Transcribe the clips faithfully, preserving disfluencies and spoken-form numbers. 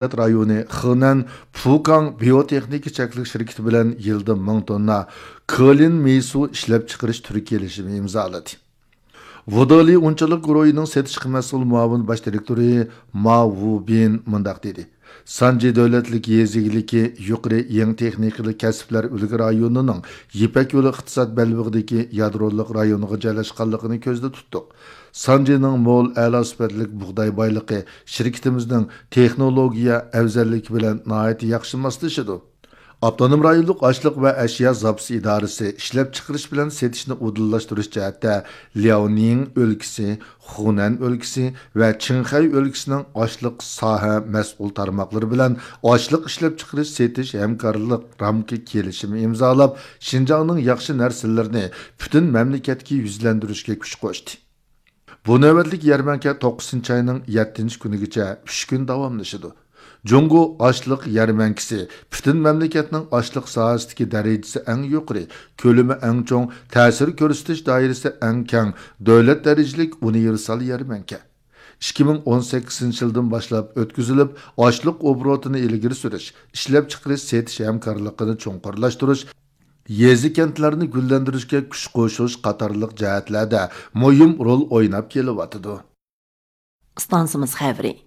دۆلەت رايونى خېنەن پۇكاڭ بىيوتېخنىكا چەكلىك شىركىتى بىلەن يىلدا مىڭ توننا كلىن مېيسۇ ئىشلەپچىقىرىش تۈرى كېلىشىمى ئىمزالىدى. ۋۇدېلى ئۇنچىلىق گۇرۇھىنىڭ سېتىشقا مەسئۇل مۇئاۋىن باش دىرېكتورى ما ۋۇبىن مۇنداق دېدى: سانجى دۆلەتلىك يېزا ئىگىلىكى يۇقىرى يېڭى تېخنىكىلىق كەسىپلەر ئۈلگە رايونىنىڭ يىپەك يولى ئىقتىساد بەلبېغىدىكى يادرولۇق رايونىغا جايلاشقانلىقىنى كۆزدە تۇتتۇق. سانجىنىڭ مول، ئەلا سۈپەتلىك بۇغداي بايلىقى شىركىتىمىزنىڭ تېخنولوگىيە ئەۋزەللىكى بىلەن ناھايىتى ياخشى ماسلىشىدۇ. ئاپتونوم رايونلۇق ئاشلىق ۋە ئەشيا زاپىسى ئىدارىسى ئىشلەپچىقىرىش بىلەن سېتىشنى ئۇدۇللاشتۇرۇش جەھەتتە لياۋنىڭ ئۆلكىسى، خۇنەن ئۆلكىسى ۋە چىڭخەي ئۆلكىسىنىڭ ئاشلىق ساھە مەسئۇل تارماقلىرى بىلەن ئاشلىق ئىشلەپچىقىرىش سېتىش ھەمكارلىق رامكا كېلىشىمى ئىمزالاپ، شىنجاڭنىڭ ياخشى نەرسىلىرىنى پۈتۈن مەملىكەتكە يۈزلەندۈرۈشكە كۈچ قوشتى. بۇ نۆۋەتلىك يەرمەنكە توققۇزىنچى ئاينىڭ يەتتىنچى كۈنىگىچە ئۈچ كۈن داۋاملىشىدۇ. جۇڭگو ئاشلىق يەرمەنكىسى پۈتۈن مەملىكەتنىڭ ئاشلىق ساھەسىدىكى دەرىجىسى ئەڭ يۇقىرى، كۆلىمى ئەڭ چوڭ، تەسىر كۆرسىتىش دائىرىسى ئەڭ كەڭ، دۆلەت دەرىجىلىك ئۇنىۋېرسال يەرمەنكە. ئىككى مىڭ ئون سەككىزىنچى يىلدىن باشلاپ ئۆتكۈزۈلۈپ، ئاشلىق ئوبوروتىنى ئىلگىرى سۈرۈش، ئىشلەپچىقىرىش سېتىش ھەمكارلىقىنى چوڭقۇرلاشتۇرۇش، يېزا، كەنتلەرنى گۈللەندۈرۈشكە كۈچ قوشۇش قاتارلىق جەھەتلەردە مۇھىم رول ئويناپ كېلىۋاتىدۇ. ئىستانسىمىز خەۋىرى.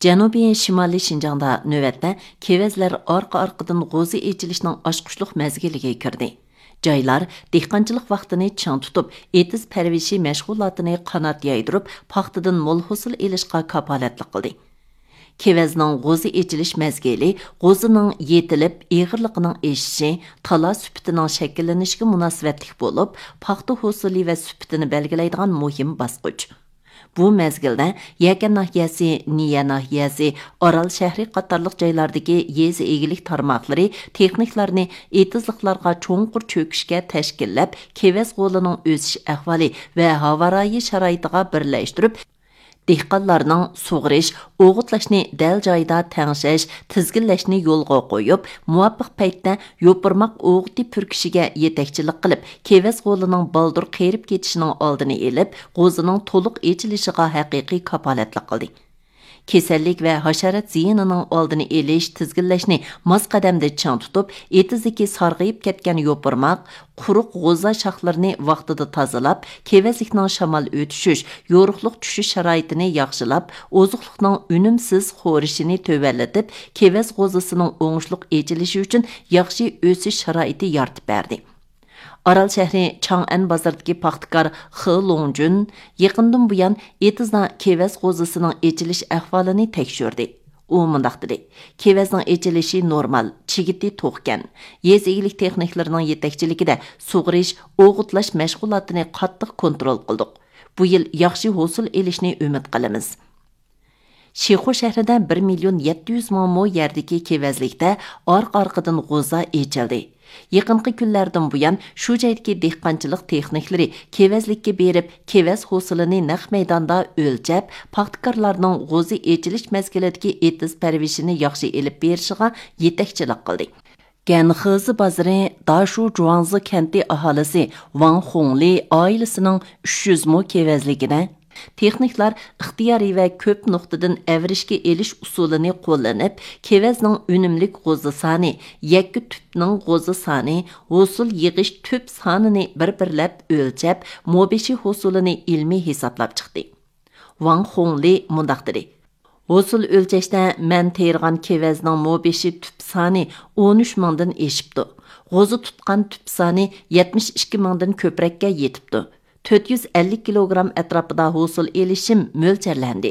جەنۇبىي شىمالىي شىنجاڭدا نۆۋەتتە كېۋەزلەر ئارقا-ئارقىدىن غوزا ئېچىلىشنىڭ ئاچقۇچلۇق مەزگىلىگە كىردى. جايلار دېھقانچىلىق ۋاقتىنى چىڭ تۇتۇپ، ئېتىز پەرۋىشى مەشغۇلاتىنى قانات يايدۇرۇپ، پاختىدىن مول ھوسۇل ئېلىشقا كاپالەتلىك قىلدى. كېۋەزنىڭ غوزا ئېچىلىش مەزگىلى غوزىنىڭ يېتىلىپ، ئېغىرلىقىنىڭ ئېشىشى، تالا سۈپىتىنىڭ شەكىللىنىشىگە مۇناسىۋەتلىك بولۇپ، پاختا ھوسۇلى ۋە سۈپىتىنى بەلگىلەيدىغان مۇھىم باسقۇچ. بۇ مەزگىلدە يەكەن ناھىيەسى، نىيە ناھىيەسى، ئارال شەھىرى قاتارلىق جايلاردىكى يېزا ئىگىلىك تارماقلىرى تېخنىكلارنى ئېتىزلىقلارغا چوڭقۇر چۆكۈشكە تەشكىللەپ، كېۋەز غولىنىڭ ئۆسۈش ئەھۋالى ۋە ھاۋا رايى شارائىتىغا بىرلەشتۈرۈپ، دېھقانلارنىڭ سۇغىرىش، ئوغۇتلاشنى دەل جايىدا تەڭشەش، تىزگىنلەشنى يولغا قويۇپ، مۇۋاپىق پەيتتە يوپۇرماق ئوغۇتى پۈركۈشىگە يېتەكچىلىك قىلىپ، كېۋەز غولىنىڭ بالدۇر قېرىپ كېتىشىنىڭ ئالدىنى ئېلىپ، غوزىنىڭ تولۇق ئېچىلىشىغا ھەقىقىي كاپالەتلىك قىلدى. كېسەللىك ۋە ھاشارات زىيىنىنىڭ ئالدىنى ئېلىش، تىزگىنلەشنى ماس قەدەمدە چىڭ تۇتۇپ، ئېتىزدىكى سارغىيىپ كەتكەن يوپۇرماق، قۇرۇق غوزا شاخلىرىنى ۋاقتىدا تازىلاپ، كېۋەزلىكنىڭ شامال ئۆتۈشۈش، يورۇقلۇق چۈشۈش شارائىتىنى ياخشىلاپ، ئوزۇقلۇقنىڭ ئۈنۈمسىز خورىشىنى تۆۋەنلىتىپ، كېۋەز غوزىسىنىڭ ئوڭۇشلۇق ئېچىلىشى ئۈچۈن ياخشى ئۆسۈش شارائىتى يارىتىپ بەردى. ئارال شەھىرى چاڭئەن بازىرىدىكى پاختىكار خې لوڭجۈن يېقىندىن بۇيان ئېتىزدا كېۋەز غوزىسىنىڭ ئېچىلىش ئەھۋالىنى تەكشۈردى. ئۇ مۇنداق دېدى: كېۋەزنىڭ ئېچىلىشى نورمال، چىگىتى توقكەن. يېزا ئىگىلىك تېخنىكلىرىنىڭ يېتەكچىلىكىدە سۇغىرىش، ئوغۇتلاش مەشغۇلاتىنى قاتتىق كونترول قىلدۇق. بۇ يىل ياخشى ھوسۇل ئېلىشنى ئۈمىد قىلىمىز. شىخۇ شەھىرىدە بىر مىليون يەتتە يۈز مىڭ مو يەردىكى كېۋەزلىكتە ئارقا-ئارقىدىن غوزا ئېچىلدى. يېقىنقى كۈنلەردىن بۇيان شۇ جايدىكى دېھقانچىلىق تېخنىكلىرى كېۋەزلىككە بېرىپ، كېۋەز ھوسۇلىنى نەق مەيداندا ئۆلچەپ، پاختىكارلارنىڭ غوزا ئېچىلىش مەزگىلىدىكى ئېتىز پەرۋىشىنى ياخشى ئېلىپ بېرىشىغا يېتەكچىلىك قىلدى. گەنخېزى بازىرى داشۇ جۇاڭزى كەنتى ئاھالىسى ۋاڭ خۇڭلى ئائىلىسىنىڭ ئۈچ يۈز مو كېۋەزلىكىدە تېخنىكلار ئىختىيارىي ۋە كۆپ نۇقتىدىن ئەۋرىشكە ئېلىش ئۇسۇلىنى قوللىنىپ، كېۋەزنىڭ ئۈنۈملۈك غوزا سانى، يەككە تۈپنىڭ غوزا سانى، ھوسۇل يىغىش تۈپ سانىنى بىر-بىرلەپ ئۆلچەپ، مو بېشى ھوسۇلىنى ئىلمىي ھېسابلاپ چىقتى. ۋاڭ خۇڭلى مۇنداق دېدى: ھوسۇل ئۆلچەشتە مەن تېرىغان كېۋەزنىڭ مو بېشى تۈپ سانى ئون ئۈچ مىڭدىن ئېشىپتۇ. غوزا تۇتقان تۈپ سانى يەتمىش ئىككى مىڭدىن كۆپرەككە يېتىپتۇ. تۆت يۈز ئەللىك كىلوگرام ئەتراپىدا ھوسۇل ئېلىشىم مۆلچەرلەندى.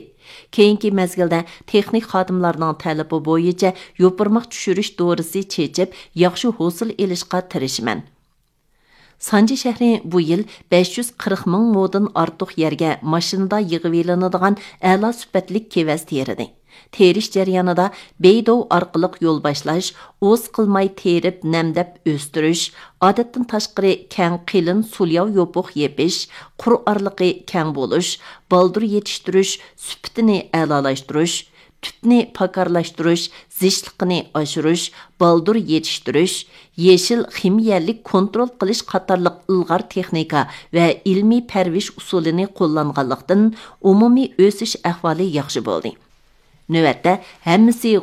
كېيىنكى مەزگىلدە تېخنىك خادىملارنىڭ تەلىپى بويىچە يوپۇرماق چۈشۈرۈش دورىسى چېچىپ، ياخشى ھوسۇل ئېلىشقا تىرىشىمەن. سانجى شەھىرى بۇ يىل بەش يۈز قىرىق مىڭ مودىن ئارتۇق يەرگە ماشىنىدا يىغىۋېلىنىدىغان ئەلا سۈپەتلىك كېۋەز تېرىدى. تېرىش جەريانىدا بېيدوۋ ئارقىلىق يول باشلاش، ئۇۋا قىلماي تېرىپ نەمدەپ ئۆستۈرۈش، ئادەتتىن تاشقىرى كەڭ قېلىن سۇلياۋ يوپۇق يېپىش، قۇر ئارىلىقى كەڭ بولۇش، بالدۇر يېتىشتۈرۈش، سۈپىتىنى ئەلالاشتۇرۇش، تۈپنى پاكارلاشتۇرۇش، زىچلىقىنى ئاشۇرۇش، بالدۇر يېتىشتۈرۈش، يېشىل خىمىيەلىك كونترول قىلىش قاتارلىق ئىلغار تېخنىكا ۋە ئىلمىي پەرۋىش ئۇسۇلىنى قوللانغانلىقتىن، ئومۇمىي ئۆسۈش ئەھۋالى ياخشى بولدى. نۆۋەتتە ھەممىسى